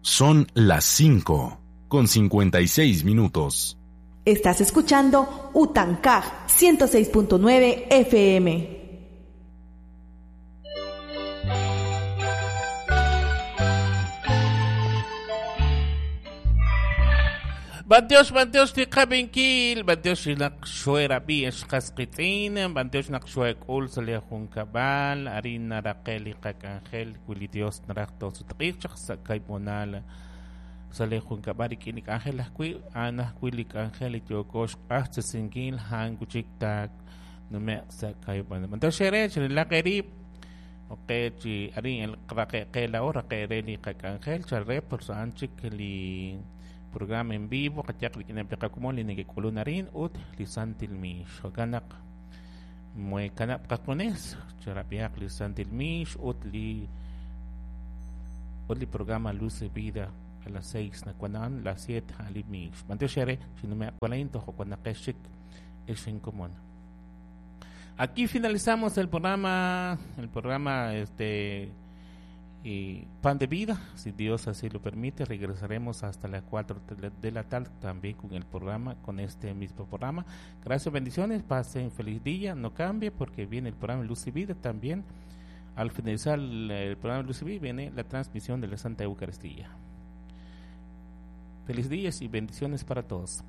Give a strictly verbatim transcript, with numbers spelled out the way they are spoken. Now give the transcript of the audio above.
Son las cinco con cincuenta y seis minutos. Estás escuchando Utancaj ciento seis punto nueve F M. Banteos, banteos, tiqabinkil, banteos naqxuera bi esqasqitzin, banteos naqxuekul sale junkabal, harina raqel iqakangel, wili Dios naraqto sutqichaq sakaymonal, sale junkabal ikinik ángel ajwi, anajwilik ángel itiokox q'axtzinkil hankuchiktak nume sakaymonal. Banteos xere, xelaqerib, ok, chi harin el qraqeqela o raqereli iqakangel, chalre por sanchik li programa en vivo, katiak likinapikakumon linigikulunarin ut lisantilmish. Hoganak muekanap kakunes, charapiak lisantilmish ut li ut li programa Luz de Vida a las seis nakuanan, las siete alimish. Manteo shere, sinume akualain tojo kuanakeshik es en común. Aquí finalizamos el programa, el programa este y Pan de Vida, si Dios así lo permite, regresaremos hasta las cuatro de la tarde también con el programa, con este mismo programa. Gracias, bendiciones, pasen feliz día, no cambie porque viene el programa Luz y Vida también. Al finalizar el programa Luz y Vida viene la transmisión de la Santa Eucaristía. Feliz días y bendiciones para todos.